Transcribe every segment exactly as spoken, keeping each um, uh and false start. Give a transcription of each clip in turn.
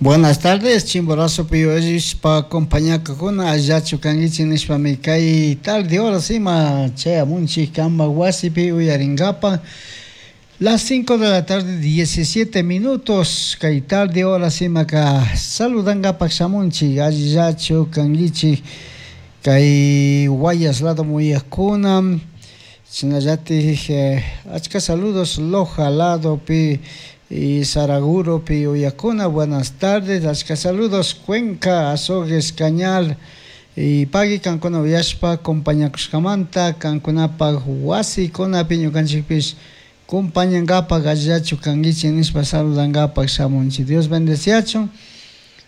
Buenas tardes, Chimborazopi uyashpa compañakuna allachu kankichik nishpami kay tarde horas ima chayamunchik kanpak wasipi uyarinkapak las cinco de la tarde diecisiete minutos kay tarde horas imaka saludankapak shamunchik allillachu kankichik kay Guayas lado muyakuna shinallatik achka saludos Loja ladopi y Saraguropi uyakuna buenas tardes achka saludos Cuenca Azogues Cañar y pagui kankuna uyashpa compañakushkamanta kankunapak wasikunapi ñukanchikpish compañankapak allillachu kankichik nishpa saludankapak shamunchik Dios bendeciachun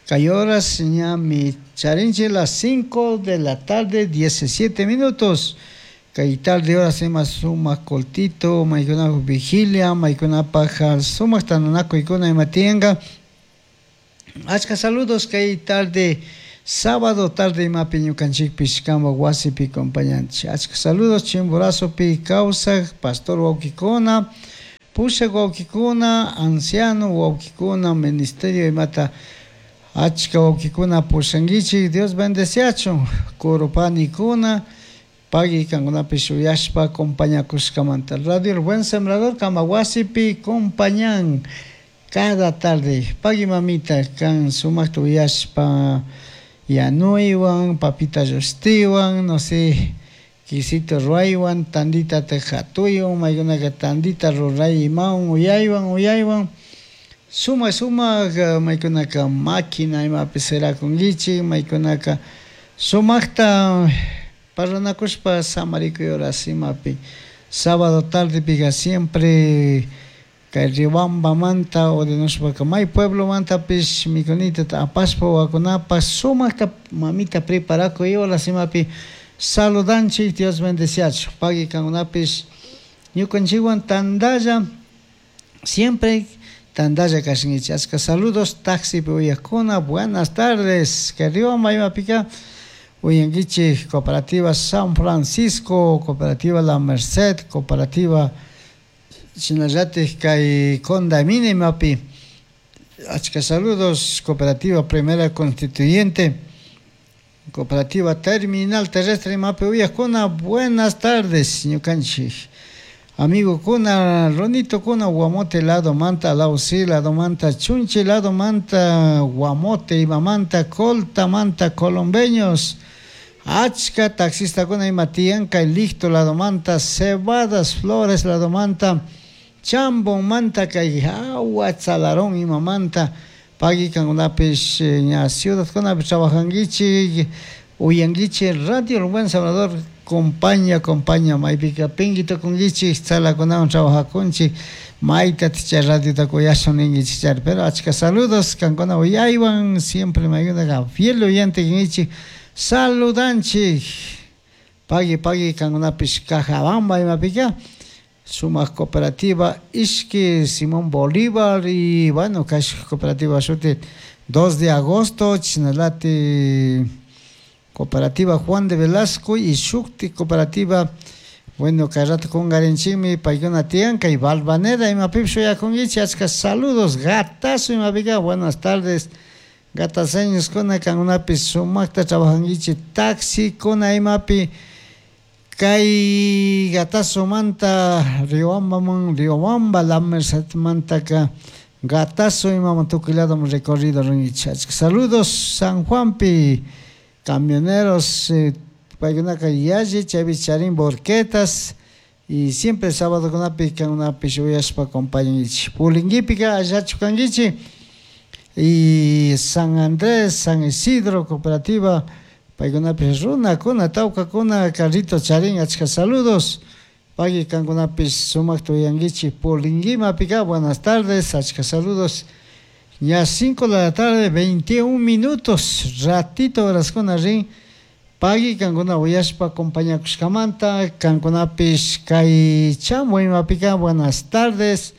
kay horas ñami charinchik las cinco de la tarde diecisiete minutos kay tarde horas ima sumak cultito maykunapak vigilia maykunapak sumak tantanakuykuna ima tiyanka achka saludos kay tarde sábado tarde imapi ñukanchikpish kanpak wasipi compañanchik achka saludos Chimborazopi kawsak pastor wawkikuna pushak wawkikuna anciano wawkikuna ministerio imata achka wawkikuna pushankichik Dios bendeciachun kurupanikuna pagui kankunapish uyashpa compañakushkamanta Radio El Buen Sembrador kanpak wasipi compañan cada tarde pagui mamita kan sumakta uyashpa yanuywan papita llushtiwan no sé quesito ruaywan tandita hatuywan maykunaka tandita ruray imawan uyaywan uyaywan sumak sumak maykunaka máquina imapi sirakunkichik maykunaka sumakta parlanakushpa samarikuy horas imapi sábado tardepika siempre kay Riobambamanta ordenushpaka may pueblomantapish mikunitata apashpa wawakunapak sumakta mamita preparakuy horas imapi saludanchik Dios bendeciachun pagui kankunapish ñukanchikwan tantalla siempre tantalla kashankichik achka saludos taxipi uyakuna buenas tardes kay Riobamba imapika uyankichik Cooperativa San Francisco, Cooperativa La Merced, Cooperativa shinallatik kay Condamine imapi achka saludos Cooperativa Primera Constituyente, Cooperativa Terminal Terrestre imapi uyakuna buenas tardes ñukanchik amigo kuna Ronito kuna Guamote lado manta Lausi lado manta Chunchi lado manta Guamote imamanta Colta manta colombeños achka taxistakuna ima tiyan kay Licto lado manta Cebadas Flores lado manta Chambon manta kay Agua Tzalarón imamanta pagui kankunapish ña ciudadkunapi trabajankichik uyankichik Radio El Buen Salvador compaña compaña maypika pingui tukunkichik tzalakunawan trabajakunchik mayta chay radiota kuyashun ninkichik chari pero achka saludos kankuna uyaywan siempre maykunaka fiel oyente kankichik saludanchik pagui pagui kankunapish Cajabamba imapika sumak cooperativa Ishki Simón Bolívar y bueno kash cooperativa shuti dos de agosto chinalati Cooperativa Juan de Velasco y Shukti Cooperativa bueno kay rato kungarinchikmi paykuna tiyan kay Balvanera imapipish uyakunkichik achka saludos gatazo imapika buenas tardes gataseñoskuna kankunapish sumakta trabajankichik taxikuna imapi kay Gatazomanta Riobambaman Riobamba La Mercedmantaka Gatazo imaman tukuy ladoman recorrido rinkichik achka saludos San Juanpi camioneros eh, paykunaka yalli chaypi charin volquetas y siempre sábado kunapi kankunapish uyashpa compañankichik Pulinguipika allachu kankichik y San Andrés, San Isidro cooperativa paykunapish runakuna tawkakuna carrito charin achka saludos pagui kankunapish sumakta uyankichik Pulinguimapika buenas tardes achka saludos ña cinco de la tarde veintiún minutos ratito horaskuna rin pagui kankuna uyashpa acompañakushkamanta kankunapish kay Chambo imapika buenas tardes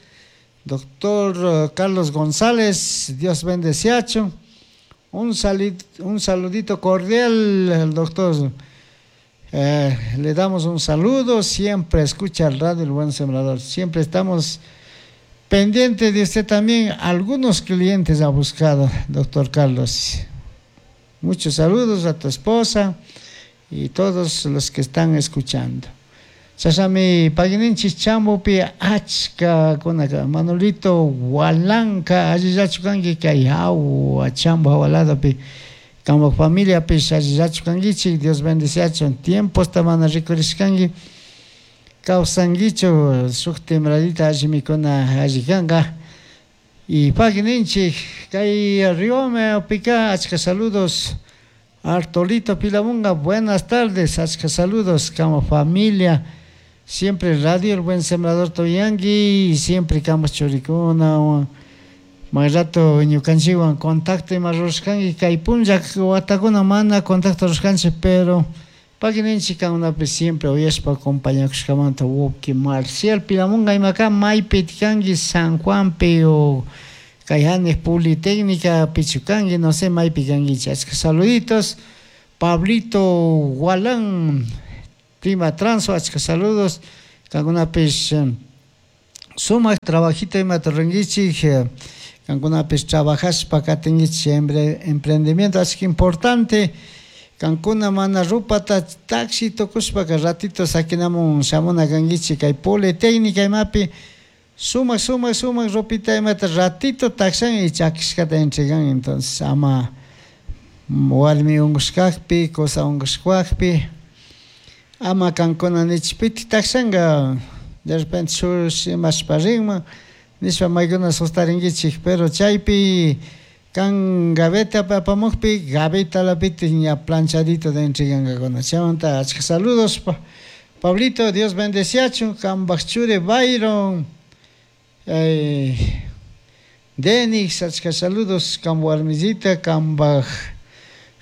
doctor Carlos González Dios bendeciachun un, salit, un saludito cordial al doctor eh, le damos un saludo siempre escucha el radio El Buen Sembrador siempre estamos Pendiente de usted también, algunos clientes ha buscado, doctor Carlos. Muchos saludos a tu esposa y todos los que están escuchando. Chashami pagininchis chambupi achka kunaka Manolito Walanka allillachu kanki kay hawa chambu hawaladapi kanpak familiapish allillachu kankichik Dios bendiciachun tiemposta mana rikurishkanki kawsankichu shuk timradita alli mikuna alli kanka y pagininchik kay Riomepika achka saludos Artolito Pilamunga buenas tardes achka saludos como familia siempre radio el buen sembrador toyangi y siempre kamos churikuna may rato ñukanchikwan contacto ima rurashkanki kay punlla watakuna mana contacto rurashkanchik pero pagininchik kankunapi siempre uyashpa acompañakushkamanta wawki Marcial Pilamunga imaka maypi kanki San Juanpi o kay hanik Politécnica pichu kanki no sé maypi kankichik achka saluditos Pablito Gualán Prima Transo achka saludos kankunapish sumak trabajito imata rurankichik kankunapish trabajashpa katinkichik emprendimiento achka importante kankuna mana rupata taxi tukushpaka ratito sakinamun shamuna kankichik kay Politécnica imapi sumak sumak sumak ropita imata ratito taxan y chakishkata entregan entonces ama warmi unkushkakpi kusa unkushkakpi ama kankuna nichpiti taxanka de repente shush imashpa rinman nishpa maykuna sustarinkichik pero chaypi kan gaveta apamukpi gavetalapitik ña planchadito de entregankakuna chaymanta achka saludos pa Pablito Dios bendeciachun kanpak churi Byron eh, Denis achka saludos kan warmisita kanpak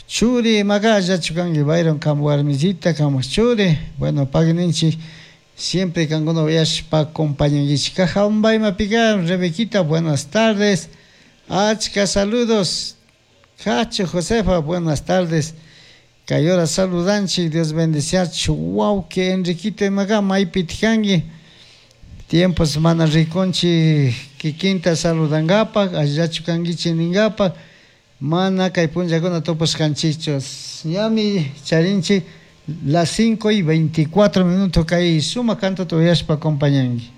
churi imaka allachu kanki Byron kan warmisita kanpak churi bueno pagininchik siempre kankuna uyashpa acompañankichik Cajabamba imapika Rebequita buenas tardes achka saludos Cacho Josefa buenas tardes kay hora saludanchik Dios bendeciachu wawki Enriquito imaka maypitik kanki tiempos mana rikunchik kikinta saludankapak allillachu kankichik ninkapak mana kay punllakuna tupashkanchikchu ñami charinchik las cinco y veinticuatro minutos kay sumak cantota uyashpa acompañanki.